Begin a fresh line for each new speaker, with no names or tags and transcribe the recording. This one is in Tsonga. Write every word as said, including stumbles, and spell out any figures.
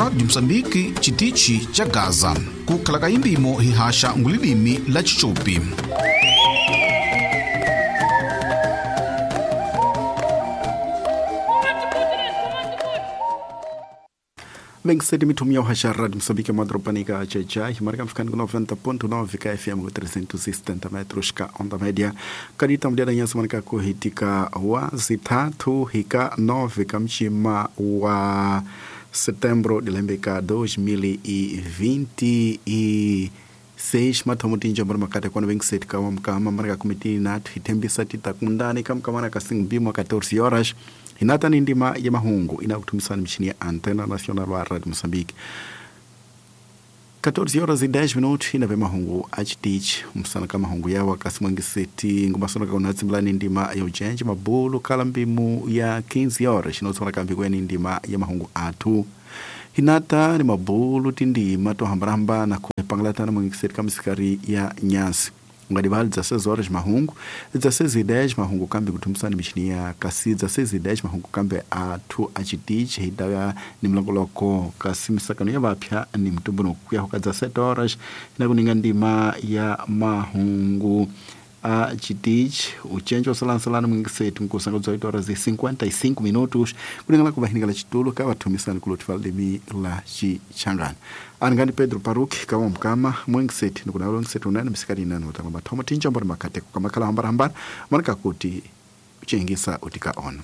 Rádio Moçambique, Chitichi cha Gaza. Kukhala imbimo hihasha ngulilimi la Chichopi.
Vem mithumi ya uhasha Rádio Moçambique madropanika checha himarika mfikani ku noventa ponto nove ka F M ku trezentos e setenta metros ka onda média kadita mdiada nyansa marika kuhitika wa zitatu hika nove kamchima wa setembro dilembeka dois mil e vinte e seis mathomo tinja mbora makate kwano vinte ka mkama marika kumitini natu hitembisa titakundani kamkamana kasingbimo catorze horas hinata ni ndima ya mahungu inakutumisana mchini ya Antena Nacional wa Radio Moçambique. catorze horas e dez minutos ina mahungu achitich msana kama mahungu yawa kasimwengiseti ngumasona kaunatsimlani ndima ya ujenji mabulu kalambimu ya quinze horas inotsona kambi kweni ndima ya mahungu atu hinata ni mabulu tindima tohambarahamba na kupangalatana mwengiseti kamisikari ya nyasi ngadivali dezesseis horas mahungu dezesseis e dez mahungu kambi kutumisana michini ya kasi dezesseis e dez mahungu kambi athu achitichi hidaya ni mlongoloko kasi misakano ya vapya ni mtumbuno kuya hoka dezessete horas inakuninga ndima ya mahungu achitichi uchenjo osalansalana mwingisetu nkusanga dezoito horas e cinquenta e cinco minutos kulingana kuvahinikala chitulo kavathumisana kulotifa limi la chichangana aningani Pedro Paruki kawa mkama mwingisetu nikunawela mwingisetu unene misikati inene utanga mathomo tinjombori makateko kamakhala hambarahambara manaka kuti uchingisa utika ono.